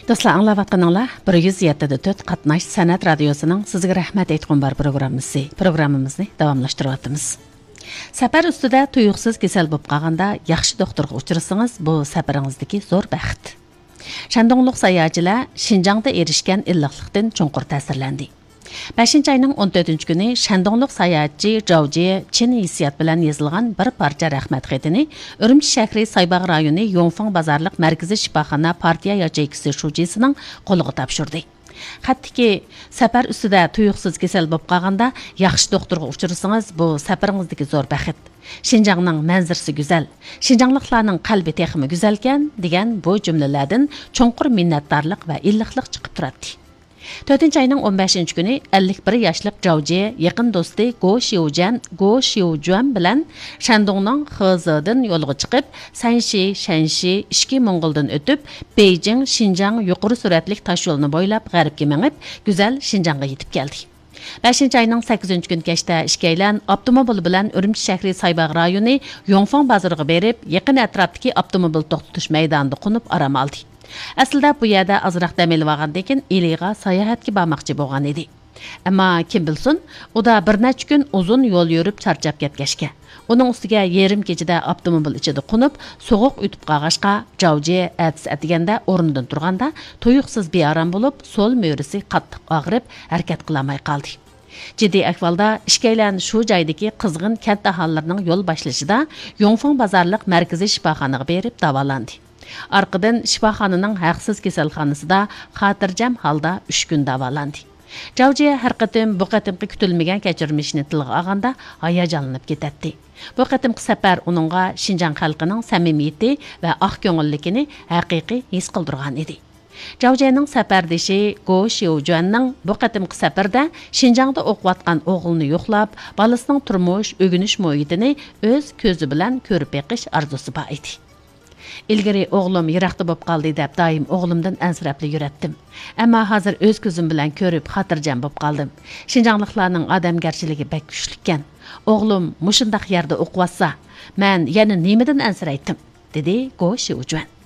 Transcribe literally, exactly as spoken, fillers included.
دوستلار، ئاڭلاۋاتقىنىڭلار بىر يۈز يەتتە دە تۆت قاتناش سەنئەت رادىيوسىنىڭ سىزگە رەھمەت ئېيتقۇم بار پروگراممىسى. پروگراممىمىزنى داۋاملاشتۇرۇۋاتىمىز. سەپەر ئۈستىدە تۇيۇقسىز كېسەل بولۇپ قالغاندا ياخشى دوختۇرغا ئۇچرىسىڭىز، بۇ سەپىرىڭىزدىكى زور بەخت. شەندۇڭلۇق ساياھەتچىلەر شىنجاڭدا ئېرىشكەن ئىللىقلىقتىن چوڭقۇر تەسىرلەندى. بەشىنچى ئاينىڭ ئون تۆتىنچى كۈنى شەندۇڭلۇق ساياھەتچى جاۋ جيې چىن ھېسسىيات بىلەن يېزىلغان بىر پارچە رەھمەت خېتىنى ئۈرۈمچى شەھىرى سايباغ رايونى يوڭفېڭ بازارلىق مەركىزىي شىپاخانا پارتىيە ياچېيكىسى شۇجىسىنىڭ قولىغا تاپشۇردى. خەتتىكى، سەپەر ئۈستىدە تۇيۇقسىز كېسەل بولۇپ قالغاندا ياخشى دوختۇرغا ئۇچرىسىڭىز، بۇ سەپىرىڭىزدىكى زور بەخت. شىنجاڭنىڭ مەنزىرىسى گۈزەل، شىنجاڭلىقلارنىڭ قەلبى تېخىمۇ گۈزەلكەن، دېگەن بۇ جۈملىلەردىن چوڭقۇر مىننەتدارلىق ۋە ئىللىقلىق چىقىپ تۇراتتى. تۆتىنچى ئاينىڭ ئون بەشىنچى كۈنى ئەللىك بىر ياشلىق جاۋ جيې يېقىن دوستى گو شيۇجەن، گو شيۇجۈەن بىلەن شەندۇڭنىڭ خېزېدىن يولغا چىقىپ، سەنشى، شەنشى، ئىچكى موڭغۇلدىن ئۆتۈپ، بېيجىڭ، شىنجاڭ يۇقىرى سۈرئەتلىك تاشيولىنى بويلاپ غەربكە مېڭىپ، گۈزەل شىنجاڭغا يېتىپ كەلدى. بەشىنچى ئاينىڭ سەككىزىنچى كۈنى كەچتە ئىككىيلەن ئاپتوموبىل بىلەن ئۈرۈمچى شەھىرى سايباغ رايونى يوڭفېڭ بازىرىغا بېرىپ، يېقىن ئەتراپتىكى ئاپتوموبىل توختىتىش مەيدانىدا قونۇپ ئارام ئالدى. ئەسلىدە بۇ يەردە ئازراق دەم ئېلىۋالغاندىن كېيىن ئىلىغا ساياھەتكە بارماقچى بولغان ئىدى. ئەمما كىم بىلسۇن، ئۇدا بىر نەچچە كۈن ئۇزۇن يول يۈرۈپ چارچاپ كەتكەچكە، ئۇنىڭ ئۈستىگە يېرىم كېچىدە ئاپتوموبىل ئىچىدە قونۇپ، سوغۇق ئۆتۈپ قالغاچقا، جاۋ جيې ئەتىسى ئەتىگەندە ئورنىدىن تۇرغاندا، تۇيۇقسىز بىئارام بولۇپ، سول مۈرىسى قاتتىق ئاغرىپ، ھەرىكەت قىلالماي قالدى. جىددىي ئەھۋالدا ئىككىيلەن شۇ جايدىكى قىزغىن كەنت ئاھالىلىرىنىڭ يول باشلىشىدا يوڭفېڭ بازارلىق مەركىزىي شىپاخانىغا بېرىپ داۋالاندى. ئارقىدىن شىپاخانىنىڭ ھەقسىز كېسەلخانىسىدا خاتىرجەم ھالدا ئۈچ كۈن داۋالاندى. جاۋ جيې ھەر قېتىم بۇ قېتىمقى كۈتۈلمىگەن كەچۈرمىشىنى تىلغا ئالغاندا ھاياجانلىنىپ كېتەتتى. بۇ قېتىمقى سەپەر ئۇنىڭغا شىنجاڭ خەلقىنىڭ سەمىمىيىتى ۋە ئاق كۆڭۈللۈكىنى ھەقىقىي ھېس قىلدۇرغان ئىدى. جاۋ جيېنىڭ سەپەردىشى گو شيۇجۈەننىڭ بۇ قېتىمقى سەپىرىدە شىنجاڭدا ئوقۇۋاتقان ئوغلىنى يوقلاپ، بالىسىنىڭ تۇرمۇش، ئۆگىنىش مۇھىتىنى ئۆز كۆزى بىلەن كۆرۈپ بېقىش ئارزۇسى بار ئىدى. ئىلگىرى ئوغلۇم يىراقتا بولۇپ قالدى دەپ دائىم ئوغلۇمدىن ئەنسىرەپلا يۈرەتتىم. ئەمما ھازىر ئۆز كۆزۈم بىلەن كۆرۈپ خاتىرجەم بولۇپ قالدىم. شىنجاڭلىقلارنىڭ ئادەمگەرچىلىكى بەك كۈچلۈككەن. ئوغلۇم مۇشۇنداق يەردە ئوقۇۋاتسا، مەن يەنە نېمىدىن ئەنسىرەيتتىم؟ دېدى گو شيۇجۈەن.